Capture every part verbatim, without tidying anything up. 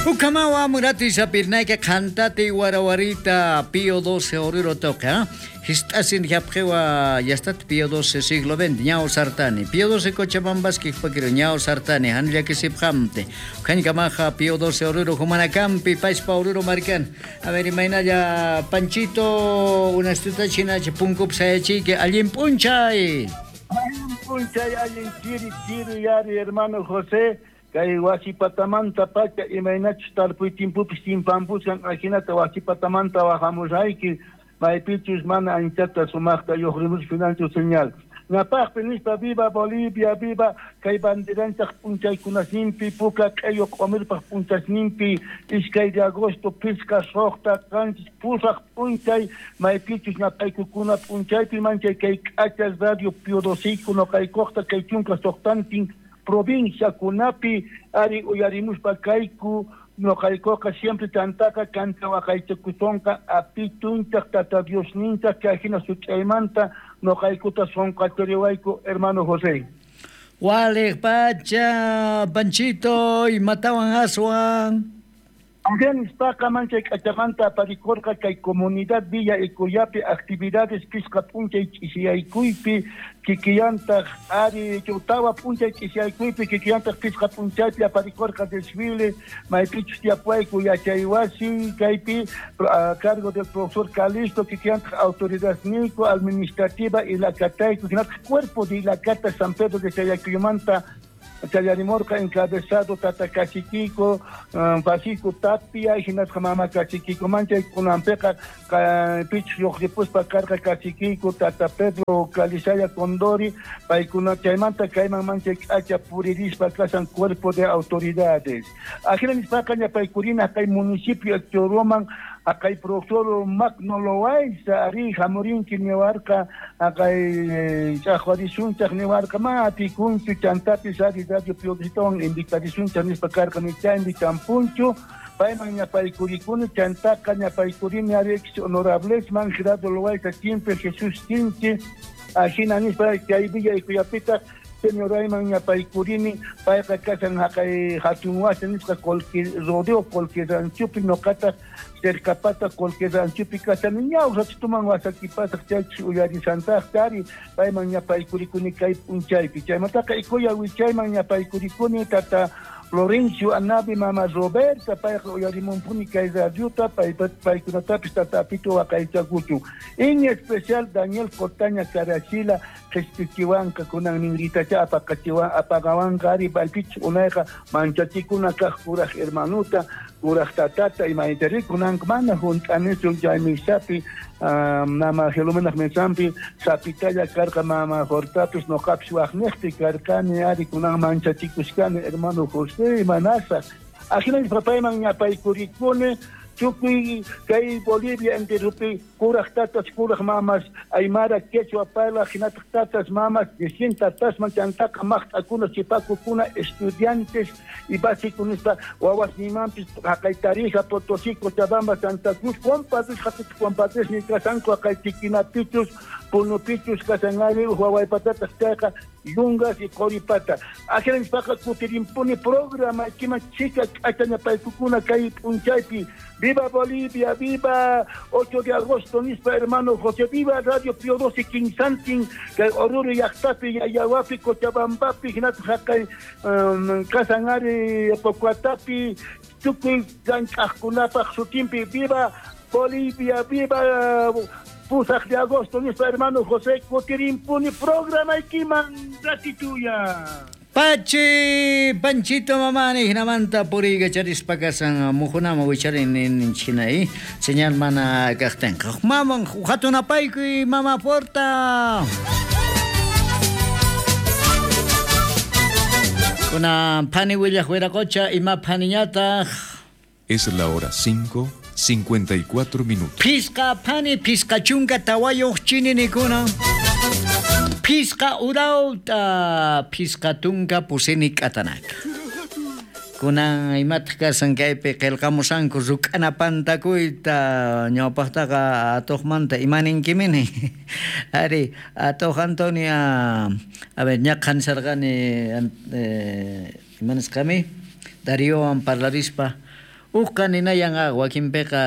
Ukamawa murati sapirnayka qantati warawarita Pío doce Oruro toca. Histasin japjewa yastat Pío doce siglo veinte ñao sartani. Pío doce Cochabambaski pakiro ñao sartani hanllakisipjamte. Kamaja Pío doce Oruro Jumanacampi Paispa Oruro Marcan. A ver, imaynalla Panchito una estuta china punkup sayachique allin punchay. Allin punchay, allin chiri chiri yari hermano José. Kay wasipatamanta pacha imaynachus tarpuy tiempopis timpampushan ajinata wasipatamanta wajamusayki maypichus mana anchata sumaqta lluqrimus financio señal. Napaqpi nispa viva Bolivia, viva kay banderanchaq p'unchaykunasninpi puka q'ayu q'umirpaq p'unchasninpi iskay de agosto pisqa suqta qanchis pusaq p'unchay maypichus napaykukuna p'unchaypi manchay kay k'achas radio Pío doce noqaykuqta kay chunka suqtantin provincia kunapi ari uyarimuspa kayku noqaykuqa siempre tantaka kanta waqaychakusonqa apitunchaq tata Diosninchaq kay hina such'aymanta noqaykuta sonqachariwayku hermano José. Waliq pacha Panchito imatawan aswan. Nispaqa manchay k'achamanta aparikurqa kay comunidad Villa Icuyapi actividades pisqa p'unchay ch'isiyaykuypi kikillantaq ari tawa p'unchay ch'isiyaykuypi kikillantaq pisqa p'unchaypi aparikurqa desfile maypichus tiyapuwayku yachaywasi kaypi a cargo del profesor Calisto kikillantaq autoridadniyku administrativa Ilacatayku hinataq cuerpo de Ilacata San Pedro de Chayakuyumanta Chayarimorca encabezado Tata Cachiquico, um, Pasico Tapia, y hinatqa Mama Cachiquico, manchay kunanpiqa pich lluqripuspa karqa Cachiquico, Tata Pedro Calisaya Condori, paykuna chaymanta kayman manchay k'acha puririspa kasan cuerpo de autoridades. Ajina nispaqa ñapaykurina kay municipio Choroman akay profesor Magno Loaiza ari hamurinki niwarqa akay ch'aqwarisunchaq niwarqa ma atikunchu chantapis ari radio Pío docetawan invitarisunchaq nispa karqa nichaymi champunchu payman ñapaykurikuni chantaqa ñapaykurini ari ex honorablesman Gerardo Loaiza Chimpe Jesús Chinchi ajina nispa chay Villa Icuyapitaq señorayman ñapaykurini payqa kasan haqay hatun wasi nisqa Colque rodeo Colque ranchupi noqataq cercapata Colque ranchupi kasani ñawsachituman wasakipasaq chaychus uyarisantaqta ari payman ñapaykurikuni kay p'unchaypi chaymantaqa Icuya wichayman ñapaykurikuni tata Florencio Anabi mama Roberta payqa uyarimunpuni kay radiota pay paykunatapis tata Apito waqaychakuchun en especial Daniel Cotaña Carachila qhispichiwanqa kunan ninritacha apaqachiwan apaqawanqa ari paypich unayqa manchachikuna kaq kuraq hermanuta kuraq tatata imaytari kunan mana hunt'anichu chay misapi mama Gelumenaq misampi sapitalla karqa mama Jortapis noqapis waqniqpi karqani ari kunan manchachikushkani hermano José imanasaq ajina papayman ñapaykurikuni tukuy kay Bolivia enterupi kuraq tatas kuraq mamas aymara quechua parlaq hinataq tatas mamas distintas tatasman chantaqa maqt'akuna chipakukuna estudiantes y básico nispa wawasnimanpis haqay Tarija Potosí Cochabamba Santa Cruz compadres haqay compadres ni kasanku haqay Tiquinapichus Punupichus kasanari wawaypatataq chayqa yungas y qoripata ajina nispaqa kutirimpuni programa kiman chika k'achañapaykukuna kay p'unchaypi. Viva Bolivia, viva ocho de agosto, nispa hermano José, viva Radio Pío doce Quinsantin, kay Oruro llaqtapi, Yayahuapi, Cochabambapi, hinataq haqay um, Kasanari, Pocuatapi, tukuy llank'aqkunapaq sutinpi, viva Bolivia, viva pusaq de agosto, nispa hermano José, kutirimpuni programaykiman ratituya. Pachi, Panchito mamani, hinamanta puriga charispa kasan mujunama wicharin nin chinay, señal mana kaqtinqa. Maman, hatunapaykuy mama Forta. Kuna phani willaq wiraqocha ima phaniñataq. Es la hora cinco, cincuenta y cuatro minutos. Pisqa phani, pisqa chunka tawayuq chininikuna. Pisqa urauta, pisqa tunka pusini k'atanaka. Kunan imataq kasan kaypi qillqamusanku ruk'ana pantakuyta ñawpaqtaqa atuqmanta imaninkimini. Ari atuq Antonia, a ver ñaqhan sarqani eh, imanisqami Dariowan parlarispa Uqqa ninayan wakinpiqa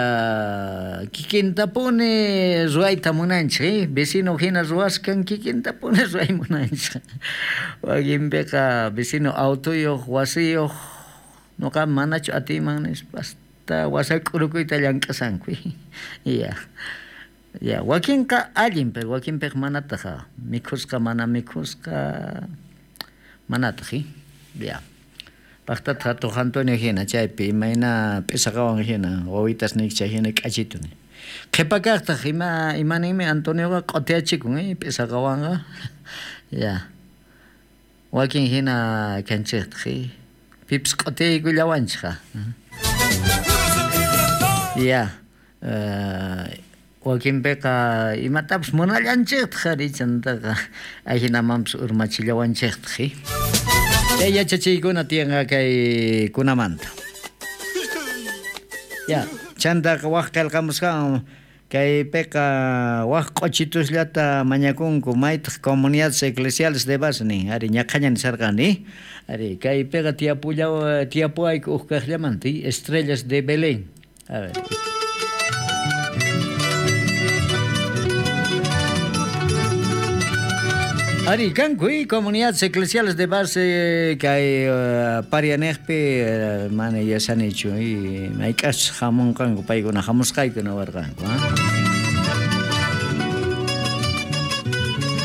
kikintapuni ruwayta munanchik, vecino hina ruwaskan kikintapuni ruway munanchik. Wakinpiqa vecino autoyuq, wasiyuq, nuqa manachu atiyman nispa hasta wasak'urukuyta llank'asanku. Ya. Ya, wakinqa allin, pero wakinpiqa manataq mikhusqa mana mikhusqa manataq, ya. Paqtataq Hatuq Antonio hina chaypi imayna p'isaqawan hina wawitas niqcha hina k'achitu ni. Qhipakaqtaq ima imaninmi Antonioqa q'utiyachikun eh p'isaqawanqa. Ya. Wakin hina kanchiqtaq eh pipis q'utiyaykullawanchikqa. Ya. Uh, wakinpiqa imatapas munallanchiqtaq ari chantaqa ahinamanpas urmachillawanchiqtaq eh. Chay yachachiykuna tiyanqa kay kunamanta. Ya, chantaqa waq qillqamusqan kaypiqa waq q'uchitusllata mañakunku maytaq comunidades eclesiales de base nin ari ñaqhaña nisarqani ari kaypiqa tiyapullaw tiyapuwayku uq kaqllamanta Estrellas de Belén. A ver. Ari, kanku, comunidades eclesiales de base kay uh, parianejpi uh, mana yasanichu y mayk'as hamunqanku paykuna hamusqayku nawarqanku.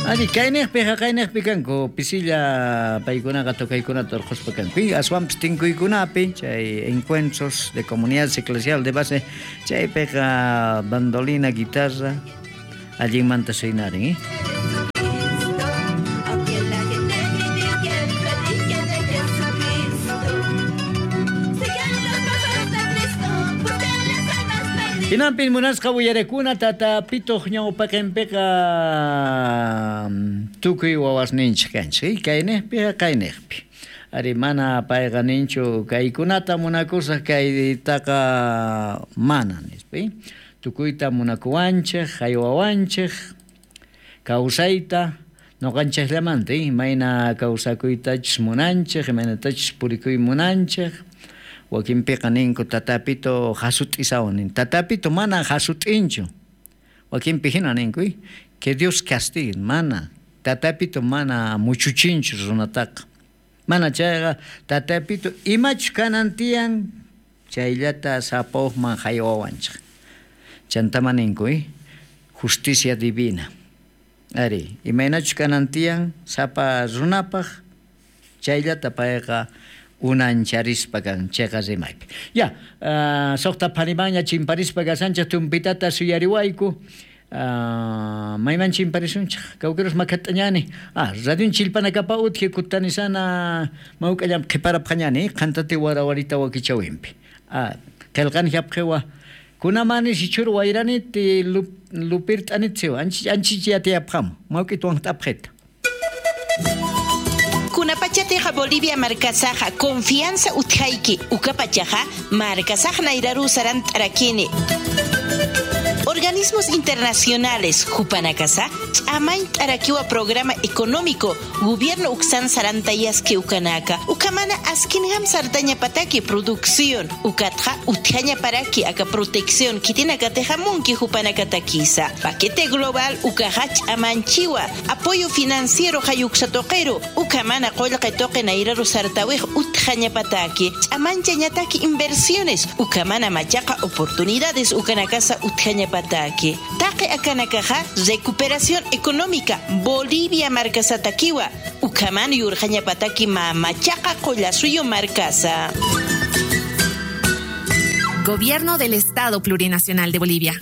Ari, kaynejpi haqaynejpi kanku pisilla paykunaqa tocaykunata urquspa kanku aswanpis tinkuykunapi chay encuentros de comunidades eclesiales de base chaypiqa bandolina, guitarra allinmanta suynarin, eh? Hinanpin munasqa willarakuna tata pituq ñawpaqinpiqa tukuy wawasninchik kanchik kaynejpi kaynejpi. Ari mana payqa ninchu kaykunata munakusaq kaytaqa mana nispa. Tukuyta munakuwanchik, haywawanchik, kawsayta ñuqanchikllamanta imayna kawsakuytachus munanchik, imaynatachus purikuy munanchik. Wakinpiqa ninku tatapito hasut'isawan nin. Tatapito mana hasut'inchu. Wakinpi hina ninku, que Dios castigue, mana. Tatapito mana muchuchinchu runataqa. Mana chayqa tatapito imachu kanan tiyan chayllata sapawman haywawanchik. Chantama ninku, justicia divina. Ari, imaynachu kanan tiyan sapa runapaq chayllata payqa unancharispa kan cheqa rimaypi. Ya, uh, suqta pharimaña chimparispa kasanchik tumpitata suyariwayku. Uh, mayman chimparisunchik kawkiros makhat'añani. Ah, radion chilpanakapa utqi kutanisana mawk'allam qhiparapqañani qhantati warawarita wakichawinpi. Ah, qillqani hapqiwa kunamani sichur wayraniti lupirt'anitziwa anchi anchichiyatiyapqamu mawk'ituwan t'apqita. Kunapachateja Bolivia markasaja confianza utjaiki ukapachaja markasaj nairaru saran tarakini. Organismos internacionales Jupanacasa, Chamain Tarakiwa Programa Económico, Gobierno Uxan Sarantayaski Ukanaka, Ukamana Askinham Sartaña Pataki Producción, Ukatja Utjaña Paraki Aka Protección, Kitinakatejamunki Jupanakatakisa, Paquete Global Ukajach Amanchiwa, Apoyo Financiero Hayuxatoquero, Ukamana Qollqetoqe Nairaru Sartawij Utjaña Pataki, Chamanchañataki Inversiones, Ukamana Machaqa Oportunidades Ukanakasa Utjaña Pataki. Taqe akanakaja recuperación económica Bolivia markasatakiwa Ukaman yurjaña pataki mamachaqa qollasuyo markasa. Gobierno del Estado Plurinacional de Bolivia.